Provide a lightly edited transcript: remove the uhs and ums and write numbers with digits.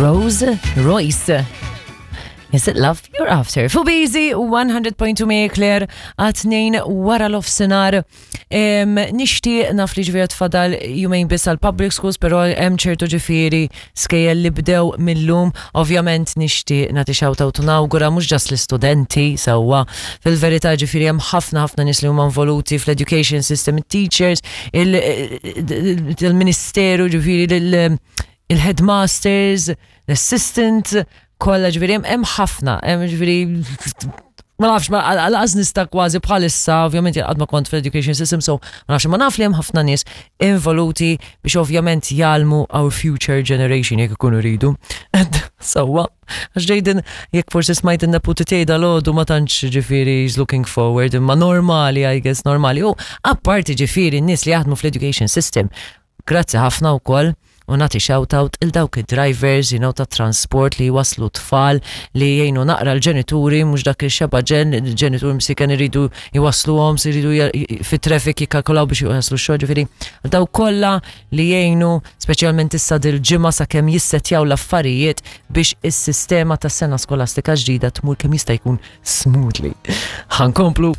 Rose Royce. Is it love you're after? Fu Busy 100.2 Marie Claire għat-tnejn wara l-ofsinar. Nixtieq naf li ġifieri tfadal jumejn biss għal public schools, però hemm ċertu ġifieri skejjel li bdew millum. Ovvjament nixtieq nagħti shout out u nawgura mhux ġas l-istudenti sewwa. Fil-verità ġifieri hemm ħafna ħafna nies li huma involuti fl-education system, it-teachers, il-ministeru ġifieri il-headmasters, l-assistant, kollha ġifieri hemm ħafna, hemm ġifieri ma nafx, ma għalqas nista kważi bħalissa, ovvjament jgħad ma kont fl-education system, so ma nafx, ma naf li hemm ħafna nies involuti biex ovvjament jgħallmu our future generation jekk ikunu rridu. Sewwa, għax Jaden, jekk forsi smajt in-neputi tiegħi dal-għodu ma tantx ġifieri is looking forward, imma normali, I guess, normali. U apparti ġifieri n-nies li jaħdmu fl-education system, grazzi ħafna wkoll u nagħti shout out il dawk id-drivers, you know, ta' transport li jwaslu tfal li jgħinu naqra l-ġenituri, mhux dak il-xeba ġen, il-ġenituri msiken iridu jwasluhom, se jridu fit-traffic jikkalkulaw biex jwaslu x-xogħol, ġifieri daw kollha li jgħinu speċjalment issa dil-ġimgħa sakemm jissetjaw l-affarijiet biex is-sistema tas-sena skolastika ġdida tmur kemm jista' jkun smoothly. Ħankomplu.